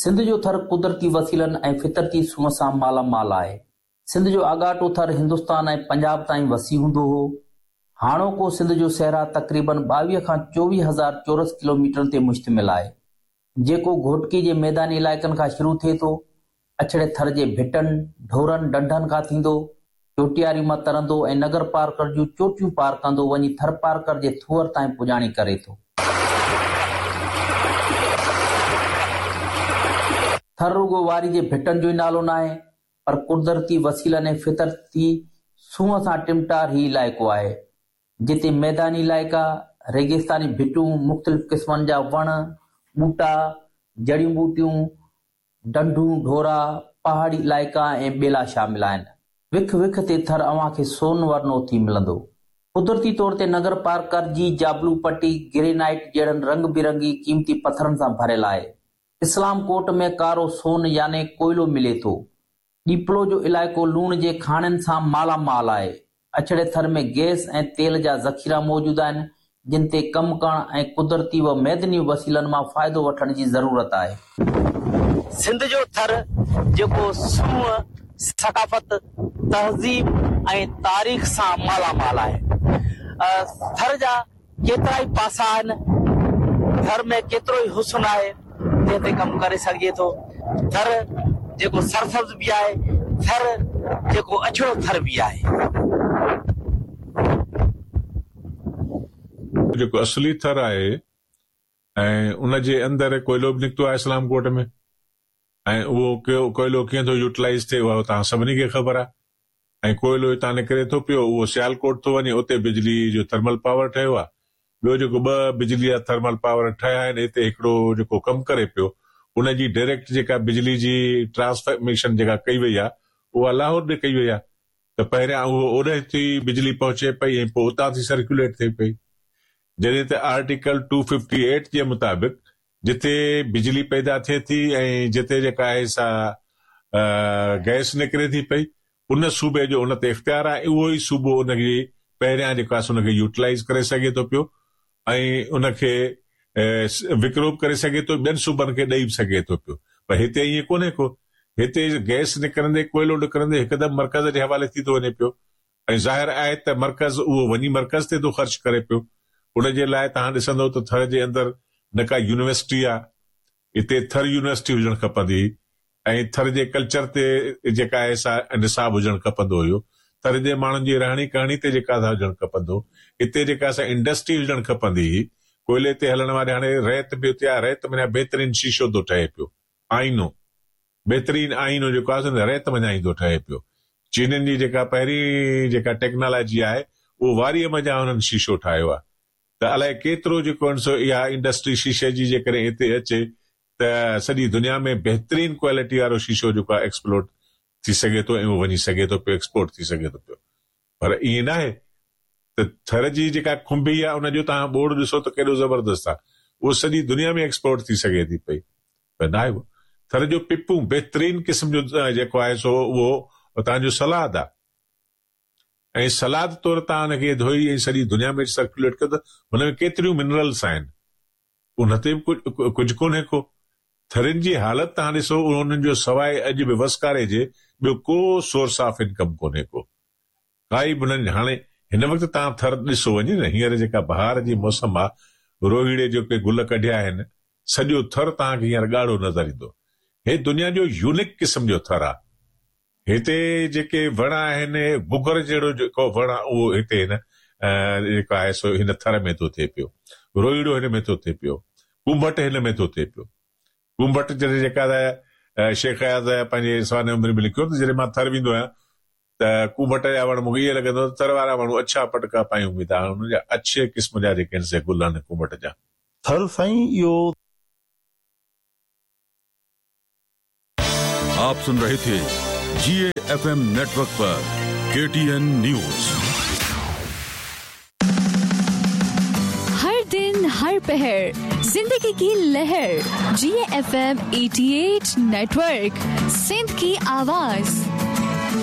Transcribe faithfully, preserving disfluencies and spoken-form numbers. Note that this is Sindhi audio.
سنڌ جو ٿر قدرتي وسيلن ۽ فطرتي سونهن سان مالا مال آهي. سنڌ جو آڳاٽو ٿر هندستان ۽ پنجاب تائين وسيع هوندو هو. هاڻوڪو سنڌ جو صحرا تقريبن ٻاويهه کان چوويهه هزار چورس ڪلوميٽرن تي مشتمل آهي، جيڪو گهوٽڪي جي ميداني علائقن کان شروع ٿئي ٿو، اڇڙي ٿر جي ڀٽن، ڍورن، ڍنڍن کان ٿيندو، چوٽياري مان ترندو ۽ نگر پارڪر جون چوٽيون پار ڪندو وڃي ٿرپارڪر جي ٿوهر تائين پڄاڻي ڪري ٿو. ٿر رڳو واري جي ڀٽن جو ئي نالو ناهي، پر قدرتي وسيلن ۽ فطرتي سونهن سان ٽمٽار هي علائقو آهي، جتي ميداني علائقا، ريگستاني ڀٽون، مختلف قسمن جا وڻ، ٻوٽا، جڙيون ٻوٽيون، ڍنڍون، ڍورا، پهاڙي علائقا ۽ ٻيلا شامل آهن. وک وک تي ٿر اوهان کي سون ورنو ٿي ملندو. قدرتي طور تي نگر پارڪر جي جابلو پٽي گرينائيٽ جهڙن رنگ برنگي قيمتي پٿرن سان ڀريل آهي. اسلام ڪوٽ ۾ ڪارو سون يعني ڪوئلو ملي ٿو. ڏيپلو جو علائقو لوڻ جي کاڻين سان مالا مال آهي. اڇڙي ٿر ۾ گئس ۽ تيل جا ذخيرا موجود آهن، جن تي ڪم ڪرڻ ۽ قدرتي و معدني وسيلن مان فائدو وٺڻ جي ضرورت آهي. سنڌ جو ٿر جيڪو سونهن، ثقافت، تهذيب ۽ تاريخ سان مالا مال آهي. ٿر جا ڪيترائي پاسا آهن، ٿر ۾ ڪيترو ئي حسن آهي، جنهن تي ڪم ڪري سگهجي ٿو. ٿر جيڪو سرسبز به آهي، ٿر جيڪو اڇڙو ٿر به آهي. جيڪو اصلي ٿر آهي ۽ ان جي اندر ڪوئلو به نڪتو آهي اسلام ڪوٽ ۾ ۽ اهو ڪوئلو ڪيئن ٿو يوٽيلائيز ٿئي اها توهان سڀني کي خبر آهي ۽ ڪوئلو هتان نڪري ٿو پيو اهو سيالڪوٽ ٿو وڃي اتي بجلي جو ٿرمل پاور ٺهيو آهي. ٻيو جيڪو ٻه بجلي جا ٿرمل پاور ٺهيا آهن هتي هڪڙو جيڪو ڪم ڪري پيو ان جي ڊائريڪٽ جيڪا بجلي جي ٽرانسميشن جيڪا ڪئي وئي آهي اها لاهور ڏي ڪئي وئي آهي ته پهريان اهو اوڏانهن ٿي بجلي پهچي پئي ۽ پوء اتان ٿي سرڪيوليٽ ٿئي پئي. جڏهن ته آرٽيڪل ٽو ففٽي ايٽ جي مطابق جتي بجلي پيدا ٿئي ٿي ۽ جتي جيڪا آهي سا گئس نڪري ٿي پئي ان صوبي جو ان تي اختيار آهي، اهو ئي صوبو ان کي پهريان جيڪو آهي ان کي يوٽيلائيز ڪري سگهي ٿو پيو ۽ ان کي وڪرو به ڪري سگهي ٿو، ٻين صوبن کي ڏئي به سگهي ٿو پيو. پر هتي ائين ڪونهي ڪو، هتي گئس نڪرندي ڪوئلو نڪرندي هڪدم مرڪز جي حوالي ٿي ٿو وڃي پيو ۽ ظاهر آهي ته مرڪز اهو وڃي مرڪز تي ٿو خرچ ڪري پيو. ان جي لاء توهان ڏسندو ته ٿر جي اندر نه ڪا يونيورسٽي آهي، هتي ٿر يونيورسٽي هجڻ کپندي هئي ۽ ٿر جي ڪلچر تي جيڪا آهي سا نصاب هجڻ کپندو هيو، ٿر جي ماڻهن جي رهڻي ڪهڻي تي جيڪا سا هجڻ کپندو، هتي جيڪا سا انڊسٽري هجڻ کپندي هئي. ڪوئلي تي هلڻ واري هاڻي ريت به اتي آهي، ريت معنيٰ بهترين شيشو ٿو ٺهي پيو، آئينو بهترين آئينو جيڪو آهي ريت منجهان ئي ٿو ٺهي پيو. چينين جي جيڪا پهرين جيڪا ٽيڪنالاجي آهي اهو واريءَ منجهان هنن شيشو ٺاهيو آهي. ته الائي ڪيترو جيڪو آهي سو اها انڊسٽري شيشي جي جيڪڏهن هتي اچي ته سڄي دنيا ۾ بهترين ڪوالٽي وارو شيشو جيڪو آهي ايڪسپلورٽ ٿي سگهي ٿو ۽ اهو وڃي سگهي ٿو پيو، ايڪسپورٽ ٿي سگهي ٿو پيو. پر ائين نه آهي ته ٿر جي جيڪا کنڀي آهي ان جو توهان ٻوڙ ڏسو ته ڪيڏو زبردست آهي، اهو سڄي دنيا ۾ ايڪسپورٽ ٿي سگهي ٿي پئي، پر نه آهي. اهو ٿر جو پپون بهترين قسم جو جيڪو آهي سو اهو توهان جو سلاد آهي ۽ سلاد طور توهان هن کي ڌوئي ۽ سڄي دنيا ۾ سرڪيوليٽ ڪيو ته هن ۾ ڪيتريون منرلس آهن، ان تي به ڪجهه ڪونهي ڪو. ٿرين جي حالت توهان ڏسو، انهن جو سواءِ اڄ به وسڪاري جي ٻيو ڪو سورس آف انڪم ڪونهي ڪو، ڪائي به انهن. هاڻي هن وقت توهان ٿر ڏسو وڃي نه، هينئر جيڪا بهار جي موسم آهي، روهيڙي جيڪي گل ڪڍيا آهن، سڄو ٿر توهان کي هينئر ڳاڙهو نظر ايندو. هي دنيا جو يونيڪ قسم جو ٿر آهي. هتي جيڪي وڻ آهن، گگر جهڙو جيڪو وڻ آهي اهو هتي هن جيڪو آهي سو هن ٿر ۾ ٿو ٿئي پيو، روهيڙو هن ۾ ٿو ٿئي پيو، ڪنڀٽ هن ۾ ٿو ٿئي پيو. ڪنڀٽ جڏهن جيڪا شيخ اياز پنهنجي سوانح عمري ۾ لکيو ته جڏهن مان ٿر ويندو آهيان ته ڪنڀٽ جا وڻ مون کي ائين لڳندو ته ٿر وارا ماڻهو اڇا پٽڪا پايون ويندا آهن، انهن جا اڇي قسم جا جيڪي آهن سي گل آهن ڪنڀٽ جا. ٿر سائين اهو آپ سن رهي ٿي جي ايف ايم نيٽورڪ پر کے ٽي اين نيوز. هر دن هر پهر زندگي ڪي لهر جي ايف ايم اٺاهٺ نيٽورڪ سنڌ ڪي آواز.